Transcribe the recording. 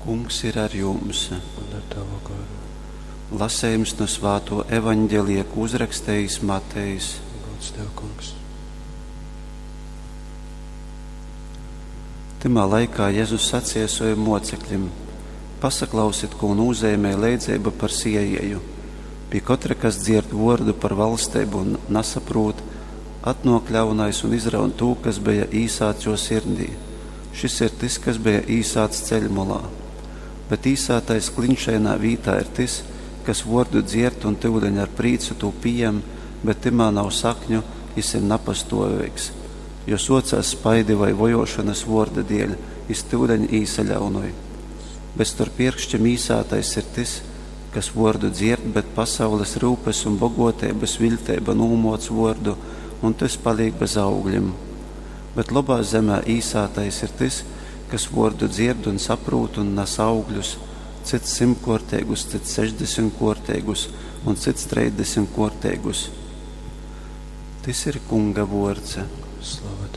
Kungs ir ar jums. Un ar tavu goru. Lasējums no svāto evaņģelija, ko uzrakstījis Matejs. Gods tev, kungs. Tymā laikā Jēzus sacīja saviem mocekļiem: Pasaklausiet, ko nozīmē leidzeiba par siejēju. Pie katra, kas dzird vordu par valstību un nesaprot, atnok ļaunais un izraun tū, kas bija īsāts jo sirdī. Šis ir tas, kas bija īsāts ceļmalā. Bet īsātais klinšainā vītā ir tas, kas vordu dzierd un tyuleņ ar prīcu tū piejem, bet timā nav sakņu, jis ir napastovīgs. Jo socās spaidi vai vojošanas vorda dēļ, jis tyuleņ īsaļaunoj. Bet starp pirkšķiem īsātais ir tas, kas vordu dzird, bet pasaules rūpes un bogotības vilteiba nūmoc vordu, un tas paliek bez augļiem. Bet labā zemē īsātais ir tas, kas vordu dzird un saprūt un nes augļus, cits simtkorteigus, cits sešdesmitkorteigus un cits trīsdesmitkorteigus. Tas ir kunga vords. Slava.